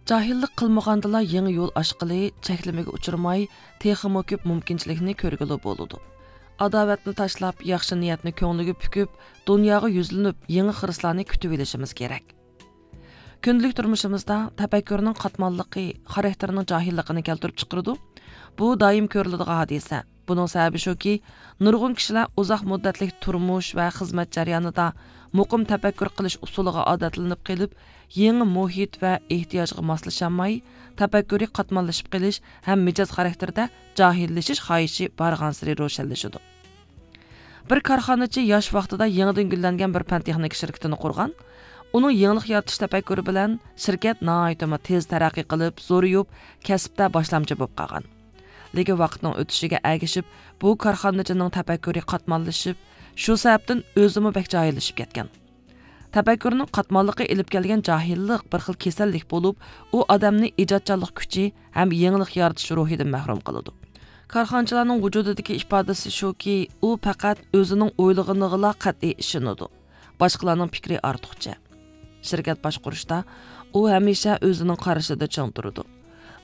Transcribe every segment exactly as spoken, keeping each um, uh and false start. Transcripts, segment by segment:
جاھىللىق قىلمىغاندىلا يېڭى يول ئاچقىلى، چەكلىمىگە ئۇچرىماي، تېخىمۇ كۆپ مۇمكىنچىلىكنى كۆرگىلى بولىدۇ. ئاداۋەتنى تاشلاپ، ياخشى نىيەتنى كۆڭلىگە پۈكۈپ، دۇنياغا يۈزلىنىپ، يېڭى خىرىسلارنى كۈتۈۋېلىشىمىز كېرەك. كۈندىلىك تۇرمۇشىمىزدا تەپەككۇرنىڭ قاتماللىقى خاراكتېرنىڭ جاھىللىقىنى كەلتۈرۈپ چىقىرىدۇ. بۇ دائىم كۆرۈلىدىغان ھادىسە. بۇنىڭ سەۋەبى شۇكى، نۇرغۇن كىشىلەر ئۇزاق مۇددەتلىك تۇرمۇش ۋە خىزمەت جەريانىدا مۇقىم تەپەككۇر قىلىش ئۇسۇلىغا ئادەتلىنىپ قېلىپ، يېڭى مۇھىت ۋە ئېھتىياجغا ماسلىشالماي، تەپەككۇرى قاتماللىشىپ قېلىش ھەم مىجەز خاراكتېرىدە جاھىللىشىش خاھىشى بارغانسېرى روشەنلىشىدۇ. بىر كارخانىچى ياش ۋاقتىدا يېڭىدىن گۈللەنگەن بىر پەن تېخنىكا شىركىتىنى قۇرغان. ئۇنىڭ يېڭىلىق يارىتىش تەپەككۇرى بىلەن شىركەت ناھايىتىمۇ تېز تەرەققىي قىلىپ، زورىيىپ، كەسىپتە باشلامچى بولۇپ قالغان. لېكىن ۋاقىتنىڭ ئۆتۈشىگە ئەگىشىپ، بۇ كارخانىچىنىڭ تەپەككۇرى قاتماللىشىپ، شۇ سەۋەبتىن ئۆزىمۇ بەك جاھىللىشىپ كەتكەن. تەپەككۇرنىڭ قاتماللىقى ئېلىپ كەلگەن جاھىللىق بىر خىل كېسەللىك بولۇپ، ئۇ ئادەمنى ئىجادچانلىق كۈچى ھەم يېڭىلىق يارىتىش روھىدىن مەھرۇم قىلىدۇ. كارخانىچىلارنىڭ ۋۇجۇدىدىكى ئىپادىسى شۇكى، ئۇ پەقەت ئۆزىنىڭ ئويلىغىنىغىلا قەتئىي ئىشىنىدۇ. باشقىلارنىڭ پىكرى ئارتۇقچە. شىركەت باشقۇرۇشتا ئۇ ھەمىشە ئۆزىنىڭ قارىشىدا چىڭ تۇرىدۇ.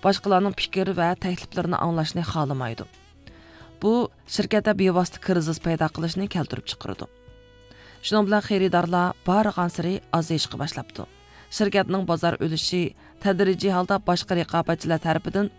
باشقىلارنىڭ پىكىر ۋە تەكلىپلىرىنى ئاڭلاشنى خالىمايدۇ. بۇ شىركەتتە بىۋاسىتە كىرىزىس پەيدا قىلىشنى كەلتۈرۈپ چىقىرىدۇ. شۇنىڭ بىلەن خېرىدارلار بارغانسېرى ئازىيىشقا باشلاپتۇ. شىركەتنىڭ بازار ئۈلۈشى تەدرىجىي ھالدا باشقا رىقابەتچىلەر تەرىپىدىن